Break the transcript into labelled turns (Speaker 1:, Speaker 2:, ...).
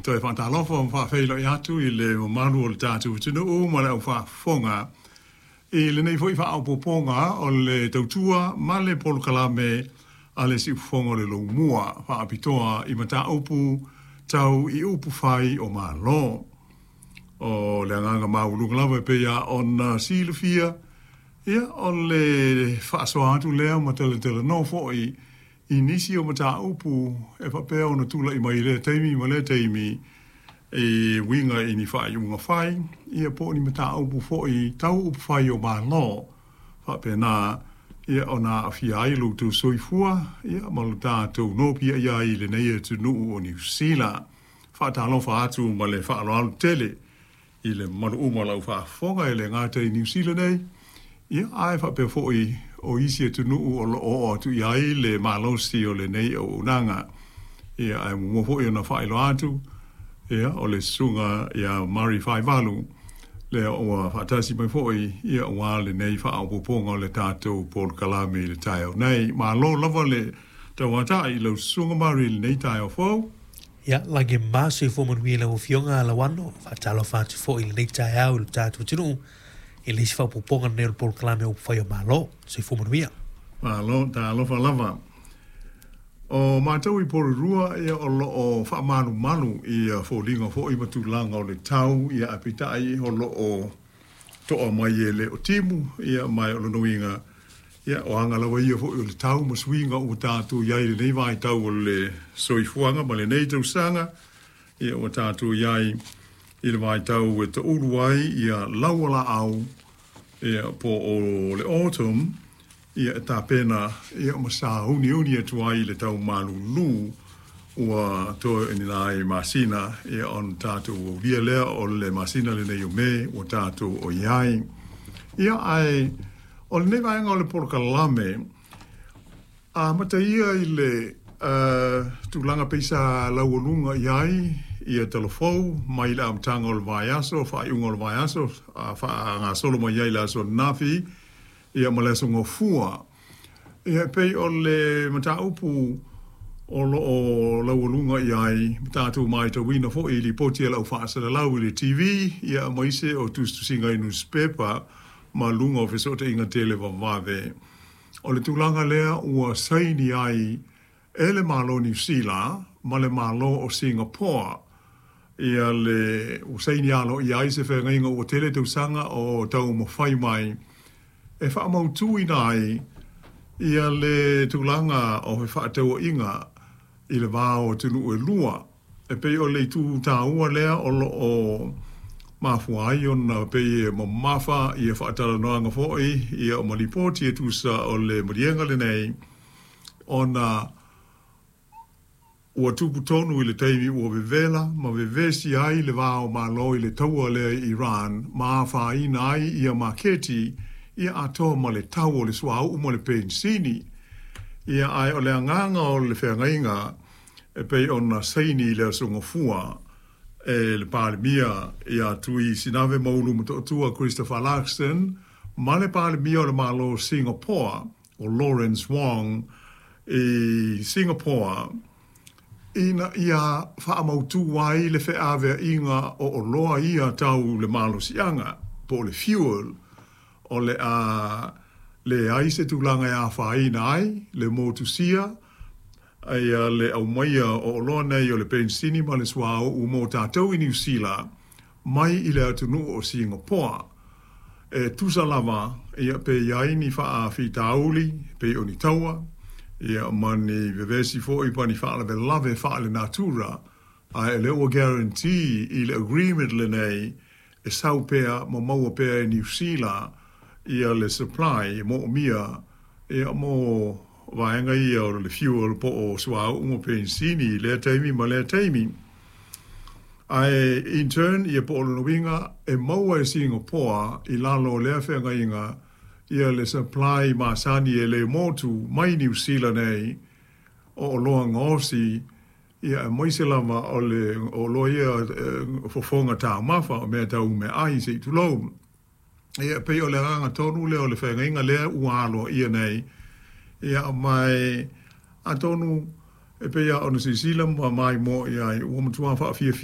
Speaker 1: Toe faatalofa ma faafeiloai atu i le mamalu o le tatou atunuu ma le aufaafofoga i lenei foi faaopoopoga o le tautua ma le polokalame a le Siufofoga o le Lomua faapitoa i mataupu tau i upu fai o Malo. O le agaga maualuga lava e pei lava ona silafia, ia, o le faasoa atu lea ma talatalanoa foi i nisi o mataupu e faapea ona tulai mai i lea taimi ma lea taimi e uiga i ni faaiuga fai, ia po o ni mataupu foi tau upufai o Malo faapena ia ona aafia ai lo outou soifua ia ma lo tatou nopiai ai i lenei atunuu o Niu Sila. Faatalofa atu ma le faaaloalo tele i le mamalu uma o lau faafofoga e le gata i Niu Sila nei, ia, ae faapea foi o isi atunuu o lo o oo atu i ai le malosi o lenei auaunaga. Ia, ae muamua foi ona faailoa atu, ia, o le susuga ia Murray Faivalu, lea ua faatasi mai foi, ia, aua lenei faaopoopoga o le tatou polokalame i le taeao nei. Malo lava le tauatai i lau susuga Murray i lenei taeao fou.
Speaker 2: Ia, lagi ma soifua manuia i lau Afioga Lauano. Faatalofa atu foi i lenei taeao i lo tatou atunuu i le isi faaopoopoga lenei o le polokalame o Upufai o Malo. Soifua manuia.
Speaker 1: Malo, talofa lava. O matou i Porirua, ia, o lo o faamalumalu i foliga foi ma tulaga o le tau, ia, ae peitai o lo o toa mai e le o timu, ia, ma o lona uiga, ia, o aga lava ia foi o le tau ma suiga ua tatou i ai i lenei vaitau o le soifuaga ma lenei tausaga, ia, ua tatou i ai i le vaitau e taulu ai ia laualaau, ia, po o le autumn, ia, e tapena, ia, ma sauniuni atu ai i le tau malulu ua toe ni nai masina, ia, ona tatou aulia lea o le masina lenei o Me ua tatou o i ai. Ia, ae o lenei vaega o le polokalame, amata ia i le tulaga pei sa laualuga i ai ia talafou mai le amataga o le vaiaso, faaiuga o le vaiaso, faagasolo mai ai le aso ananafi, ia, ma le aso Gafua. Ia, e pei o le mataupu o lo o laualuga i ai, ma tatou matauina foi i lipoti a le au faasalalau i le TV, ia, aemaise o tusitusiga i nusipepa ma luga o fesootaiga televavave. O le tulaga lea ua saini ai e le Malo o Niu Sila ma le Malo o Singapore, ia le ua saini aloaia ai se feagaiga ua tele tausaga o taumafai mai e faamautuina ai ia le tulaga o fefaatauaiga i le va o atunuu e lua. E pei o le itu taua lea o lo o mafua ai ona pei e mamafa ia faatalanoaga foi ia ma lipoti e tusa o le maliega lenei, ona ua tupu tonu i le taimi ua vevela ma vevesi ai le va o Malo i le taua lea i Iran ma afaina ai ia maketi ia atoa ma le tau o le suauu ma le penisini. Ia, ae o le agaga o le feagaiga e pei ona saini i le aso Gafua e le Palemia ia Tui Sinave Maulu Motootua Christopher Luxon ma le Palemia o le Malo o Singapore o Lawrence Wong i Singapore, ina ia faamautu ai le feaveaiga o oloa ia tau le malosiaga po o le fuel, o le a leai se tulaga e afaina ai le motusia ia le aumaia o oloa nei o le penisini ma le suauu mo tatou i Niu Sila mai i le atunuu o Singapore. E tusa lava ia pe i ai ni faafitauli pei o ni taua ia ma ni vevesi foi ma ni faalavelave faale-natura, ae o lea ua guarantee i le agreement lenei e sau pea ma maua pea e Niu Sila ia le supply e moomia ia mo vaega ia o le fuel po o suauu ma penisini i lea taimi ma lea taimi. Ae in turn, ia po o lona uiga e maua e Singapore i lalo o lea feagaiga ia le supply masani e le motu mai Niu Sila nei o oloa gaosi, ia aemaise lava o le oloa ia fofoga taumafa o mea tau meaai se i tulou. Ia, pei o le agaga tonu lea o le feagaiga lea ua aloaia nei, ia, ma e atonu e pei lava ona silasila ma maimoa i ai ua matua faafiafia.